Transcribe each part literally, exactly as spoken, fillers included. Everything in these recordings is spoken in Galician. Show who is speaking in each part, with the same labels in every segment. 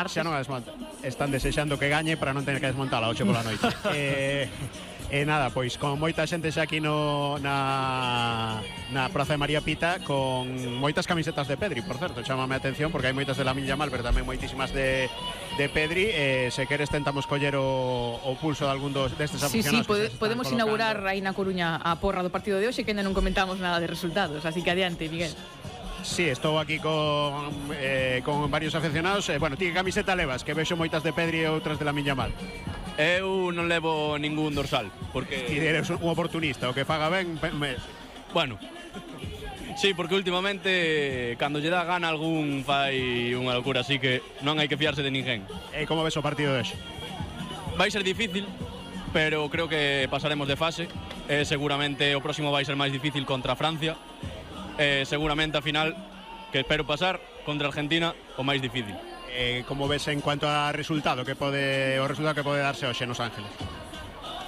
Speaker 1: Xa non a desmonta. Están desexando que gañe para non tener que desmontala ocho pola noite. eh, E nada, pois con moita xente xa aquí no, na, na Praza de María Pita, con moitas camisetas de Pedri, por certo, chámame a atención porque hai moitas de Lamine Yamal, pero tamén moitísimas de, de Pedri. eh, Se queres tentamos coller o, o pulso de algún dos destes
Speaker 2: Sí, sí,
Speaker 1: aficionados.
Speaker 2: pode, podemos
Speaker 1: colocando.
Speaker 2: inaugurar aí na Coruña a porra do partido de hoxe, que ainda non comentamos nada de resultados, así que adiante, Miguel.
Speaker 1: Sí, estou aquí con, eh, con varios aficionados. eh, Bueno, ti que camiseta levas? Que vexo moitas de Pedri e outras de Lamine Yamal.
Speaker 3: Eu non levo ningún dorsal, porque...
Speaker 1: Ti eres un oportunista, o que faga ben, me...
Speaker 3: Bueno, sí, porque últimamente cando lle dá gana algún fai unha locura, así que non hai que fiarse de ninguén.
Speaker 1: E como ves o partido de hoxe?
Speaker 3: Vai ser difícil, pero creo que pasaremos de fase. eh, Seguramente o próximo vai ser máis difícil contra Francia. eh, Seguramente a final, que espero pasar, contra Argentina, o máis difícil.
Speaker 1: Eh, como ves en cuanto a resultado que pode o resultado que pode darse hoxe nos Ángeles?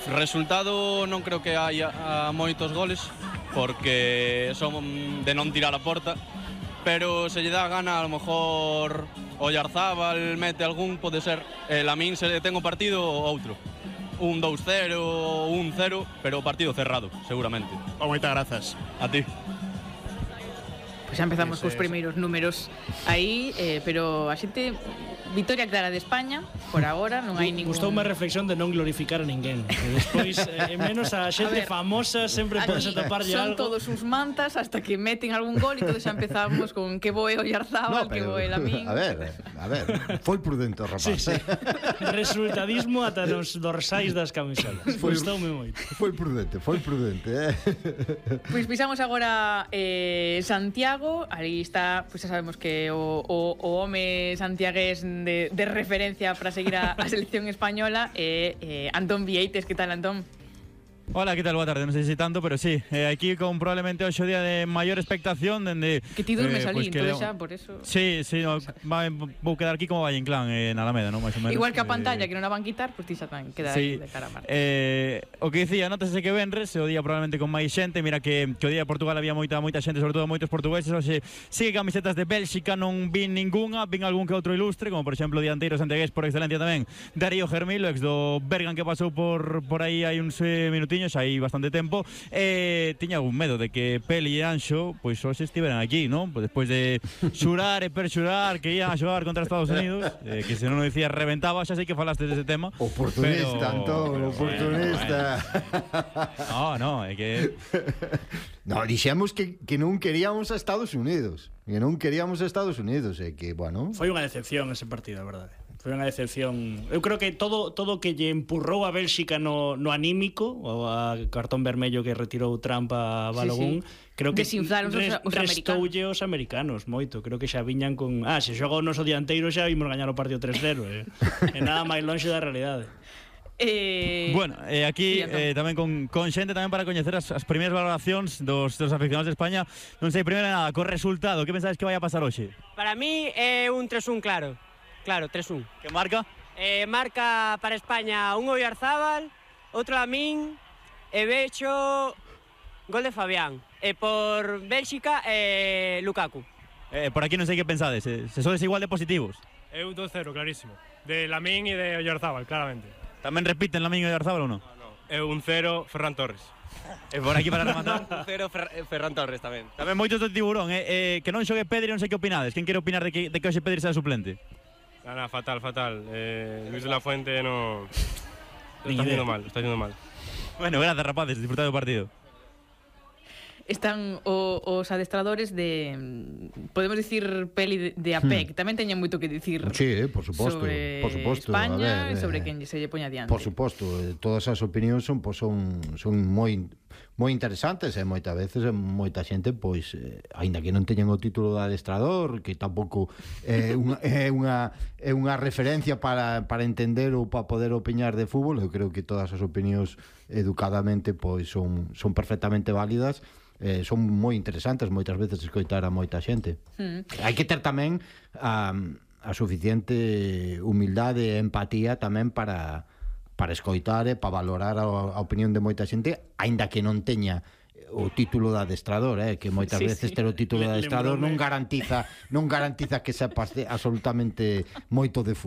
Speaker 3: Resultado non creo que haya a moitos goles, porque son de non tirar a porta, pero se lle dá gana a lo mejor Oyarzábal mete algún, pode ser. eh, Lamine se ten o partido outro, un dous cero, un cero, pero o partido cerrado, seguramente.
Speaker 1: Oh, moitas grazas.
Speaker 3: A ti.
Speaker 2: Pois xa empezamos
Speaker 1: Ese,
Speaker 2: cos primeiros números aí, eh, pero a xente, vitoria clara de España, por agora non hai ningún...
Speaker 4: Gustou unha reflexión de non glorificar a ninguén. E despois, eh, menos a xente a ver, famosa, sempre podes ataparlle
Speaker 2: son
Speaker 4: algo.
Speaker 2: todos uns mantas hasta que meten algún gol e todos xa empezamos con que boe Oyarzábal, no, que boe Lamine.
Speaker 5: A ver, a ver, foi prudente o rapaz.
Speaker 4: Sí, sí. Resultadismo ata nos dorsais das camisolas. Gustoume moito.
Speaker 5: Foi prudente, foi prudente, eh.
Speaker 2: Pois pisamos agora eh, Santiago. Ali está, pois xa sabemos que o, o, o home santiagués de, de referencia para seguir a, a selección española é eh, Antón Vieites. Que tal, Antón?
Speaker 6: Hola, ¿qué tal? Boa tarde, non sei se tanto, pero sí, eh, aquí con probablemente hoxe o día de maior expectación dende...
Speaker 2: Que ti durmes
Speaker 6: eh,
Speaker 2: ali,
Speaker 6: pues
Speaker 2: entón xa, por eso...
Speaker 6: Sí, sí, no, va, vou quedar aquí como Valle Inclán, eh, na Alameda, non? Máis ou menos.
Speaker 2: Igual que a
Speaker 6: eh,
Speaker 2: pantalla, que non a van quitar, pois pues ti xa tamén quedar
Speaker 6: sí,
Speaker 2: de cara a Marte.
Speaker 6: eh, o que dicía, nótase que venres, o día probablemente con máis xente, mira que, que o día de Portugal había moita moita xente, sobre todo moitos portugueses, hoxe sigue camisetas de Bélxica, non vin ningunha, vin algún que outro ilustre, como por exemplo o dianteiro santiagués por excelencia tamén, Darío Germilo, ex do Bergan, que pasou por, por aí hai uns eh, minutiños, hai bastante tempo. tempo eh, tiña algún medo de que Peli e Anxo pois hoxe estiveran aquí, non? Pois despois de xurar e perxurar que ian a xogar contra Estados Unidos, eh, que se non o dicía reventaba, xa sei que falaste dese tema.
Speaker 5: Oportunista,
Speaker 6: pero,
Speaker 5: Antón,
Speaker 6: pero,
Speaker 5: oportunista.
Speaker 6: Bueno, bueno. No, no, é que
Speaker 5: no, dixemos que, que non queríamos a Estados Unidos, que non queríamos a Estados Unidos, e que, bueno...
Speaker 4: Foi unha decepción ese partido, a verdade. Foi unha decepción. Eu creo que todo todo que lle empurrou a Bélxica no, no anímico, o a cartón vermello que retirou Trump a Balogun, sí, sí. creo que
Speaker 2: desinflaron
Speaker 4: res,
Speaker 2: os, os
Speaker 4: restoulle os americanos moito. Creo que xa viñan con... Ah, se xoga o noso dianteiro xa vimos gañar o partido tres cero. Eh. E nada máis lonxe da realidade.
Speaker 2: Eh...
Speaker 6: Bueno, eh, aquí
Speaker 2: sí,
Speaker 6: eh, tamén con, con xente tamén para coñecer as, as primeiras valoracións dos, dos aficionados de España. Non sei, primeiro nada, co resultado, que pensades que vai a pasar hoxe?
Speaker 7: Para mí é un tres un claro. Claro, tres un.
Speaker 6: Que marca?
Speaker 7: Eh, marca para España un Oyarzábal, outro Lamine e vexo gol de Fabián. E por Bélxica, eh, Lukaku.
Speaker 6: Eh, por aquí non sei que pensades, eh, se sodes igual de positivos.
Speaker 8: É un dos cero, clarísimo. De Lamine e de Oyarzábal, claramente.
Speaker 6: Tamén repiten Lamine e Oyarzábal ou non?
Speaker 8: No, no. É un cero, Ferran Torres.
Speaker 6: E por aquí para rematar
Speaker 3: un cero, Fer Ferran Torres tamén.
Speaker 6: Tamén moitos do tiburón, eh, eh, que non xogue Pedri, non sei que opinades. Quen quere opinar de que, de que hoxe Pedri sea suplente?
Speaker 8: Nada, fatal, fatal. Eh, Luis de la Fuente no... Lo está haciendo mal, lo está haciendo mal.
Speaker 6: Bueno, gracias, rapaces, disfrutad do partido.
Speaker 2: Están o, os adestradores de, podemos dicir, Peli de, de A P E C. Hmm. Tamén teñen moito que dicir.
Speaker 5: Sí, por suposto,
Speaker 2: sobre
Speaker 5: por suposto,
Speaker 2: España
Speaker 5: e
Speaker 2: sobre quen se lle poña adiante.
Speaker 5: Por suposto, todas as opinións son pues, son son moi moi interesantes e moitas veces moita xente pois eh, aínda que non teñen o título de adestrador, que tampouco é unha é unha é unha referencia para para entender ou para poder opinar de fútbol. Eu creo que todas as opinións educadamente pois son son perfectamente válidas. Eh, son moi interesantes moitas veces escoitar a moita xente. Mm. Hai que ter tamén a, a suficiente humildade e empatía tamén para para escoitar e para valorar a, a opinión de moita xente, aínda que non teña o título de adestrador, eh, que moitas sí, veces sí. ter o título de adestrador non garantiza non garantiza que sepas de, absolutamente moito de fútbol.